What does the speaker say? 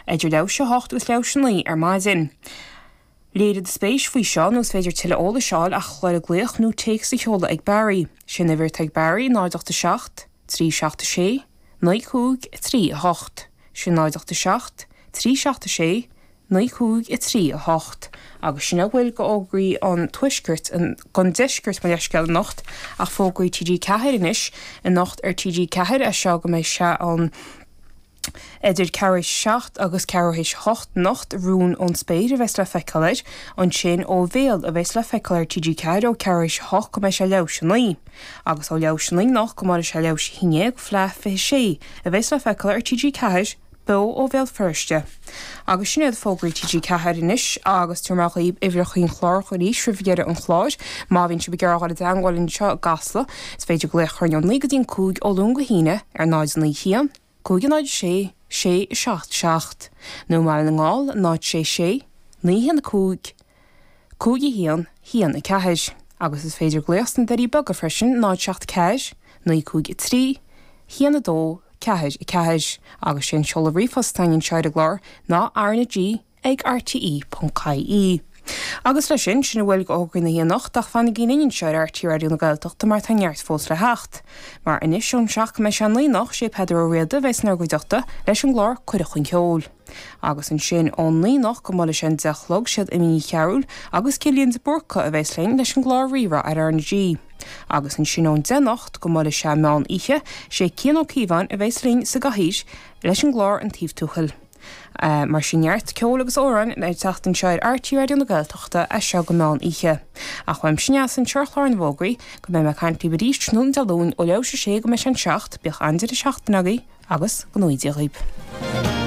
idir leathuair théis a hocht agus leathuair théis a naoi ar maidin. Léirigh do spéis faoi seo nó is féidir tuilleadh eolais a fháil ach a dhul ag glaoch nó téacs a sheoladh ag Barry. Sé an uimhir atá ag Barry, 0 8 7 3 7 6 9 5 3 8. Sin 0 8 7 3 7 6 9 5 3 8. Agus sin a bhfuil de fhógraí an tuaiscirt, den deiscirt mo leithscéal anocht, ach fógraí TG4 anois, anocht ar TG4 as seo go mbeidh sé an. Idir ceathrú théis a 7 agus ceathrú théis a 8 anocht, Rún ón Spéir a bheas le feiceáil air. Ansin Ó Bhéal a bheas le feiceáil ar TG4 ó ceathrú théis a 8 go mbeidh sé leathuair théis a 9. Agus ó leathuair théis a 9 anocht go mbeidh sé leathuair théis a 11, Fleadh 26 a bheas le feiceáil ar TG4, beo ó Bhéal Feirste. Agus sin iad fógraí TG4 anois agus tabharfaidh mé dhaoibh uimhreacha an chláir arís roimh dheireadh an chláir. Má bhíonn sibh ag iarraidh a dhul i dteangmháil linn anseo i gCasla, is féidir glaoch a chur orainn ó 9 go dtí an 5 ó Luan go hAoine ar 0 9 1 5 0 6 6 7 7 nó i mBaile na nGall 0 6 6 9 1 5 5 1 1 4 agus is féidir glaoch sna Doirí Beaga freisin 0 7 4 9 5 3 1 2 4 4 agus sé an seoladh ríomhphost atá againn anseo ar an gclár ná RnaG ag rte.ie. Agus leis sin, sin a bhfuil de fhógraí na hoíche anocht, ach fanaigí linn anseo ar RTÉ Raidió na Gaeltachta mar tá neart fós le theacht. Mar anois ón seacht go mbeidh sé a naoi anocht, sé Peadar Ó Riada a bheas inár gcuideachta leis an gclár Cuireadh Chun Ceoil. Agus ansin ón naoi anocht go mbuailfidh sé an deich a chlog, siad Amy Ní Chearúil agus Cillian de Búrca a bheas linn leis an gclár Rí-Rá ar RnaG. Agus ansin ón deich anocht go mbuailfidh sé meán oíche, sé Cian Ó Cíobháin a bheas linn sa gcathaoir leis an gclár An Taobh Tuathail. Mar sin neart ceoil agus amhráin le teacht anseo ar RTÉ Raidió na Gaeltachta as seo go meán oíche. Ach uaimse anseo ar chlár na bhfógraí, go mbeidh mé ag caint libh arís tráthnóna Dé Luain ó leathuair théis a sé go mbeidh sé an 7, bíodh an-deireadh seachtaine agaibh agus go ngnóthaí Dia dhaoibh.